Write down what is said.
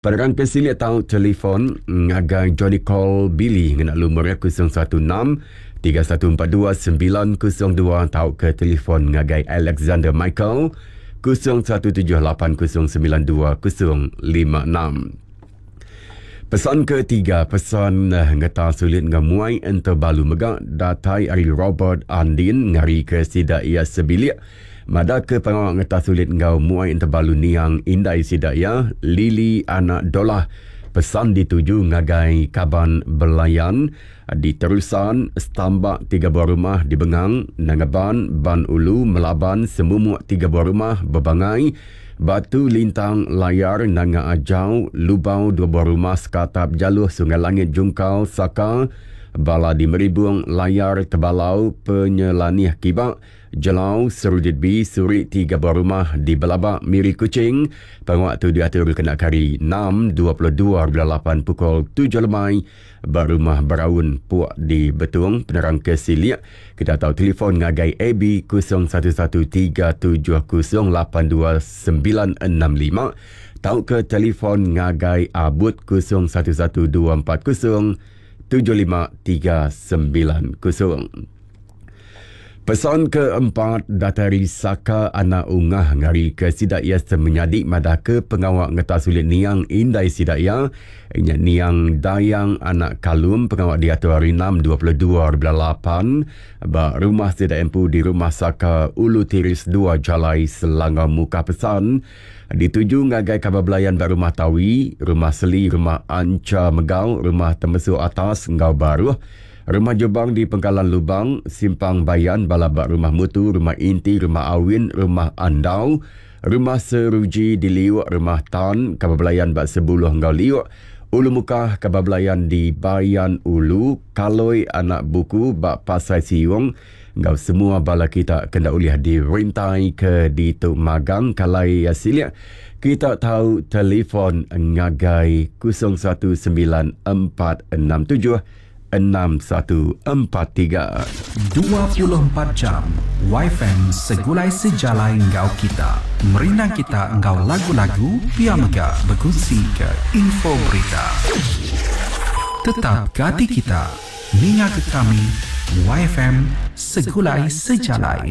Penerang ke silik tau telefon ngagai Johnny Call Billy ngena lumur iya 016 3142 902 tauka telefon ngagai Alexander Michael 017 809 2056. Pesan ketiga, pesan ngeta sulit enggau muai entebalu mega datai ari Robert Andin ngarika sida iya sebilik. Madah ke pengawa ngetas ulit enggau muai entebalu niang indai sida iya, Lily Anak Dolah, pesan dituju ngagai kaban belayan di Terusan, Stambak tiga buah rumah di Bengang, Nangaban, Ban Ulu, Melaban, Semumuk tiga buah rumah, Bebangai, Batu Lintang, Layar, Nanga Ajau, Lubau dua buah rumah, Sekatap, Jaluh, Sungai Langit, Jungkal, Saka, Bala di Meribung, Layar, Tebalau, Penyelanih Kiba, Jelau, Serudit B, Suri tiga buah rumah di Belabak, Miri Kuching. Pengawa tu diatur kena ke hari enam, 22 bulan lapan pukul tujuh lemai ba Rumah Beraun, Puk di Betong. Penerang ke silik, kita tau telefon ngagai AB 011 370 82965 tauka telefon ngagai Abut 011 240 75390. Pesan keempat datai ari Saka anak Ungah ngarika sida iya semenyadi madahka pengawa ngetas ulit niang indai sida iya nya niang Dayang anak Kalum pengawa diatur hari enam 22 bulan lapan ba rumah sida empu di Rumah Saka Ulu Tiris dua Jalai Selangau Mukah Pesan dituju ngagai kaban belayan ba Rumah Tawi, Rumah Seli, Rumah Ancha Megau, Rumah Temesu Atas enggau Baruh. Rumah Jubang di Pengkalan Lubang, Simpang Bayan, bala ba Rumah Mutu, Rumah Inti, Rumah Awin, Rumah Andau, Rumah Seruji di Liuk, Rumah Tan, Kaban Belayan ba Sebuluh enggau Liuk, Ulu Mukah, Kaban Belayan di Bayan Ulu, Kaloi Anak Buku ba Pasai Siung enggau semua bala kita ke enda ulih dirintai ke ditu magang kalai silik kita tau telefon ngagai 019467 6143. 24 jam wifi segulai sejalai enggau kita. Merindang kita enggau lagu-lagu pia mega bekunsi ke info berita. Tetap ke ati kita ninga ke kami YFM Segulai Sejalai.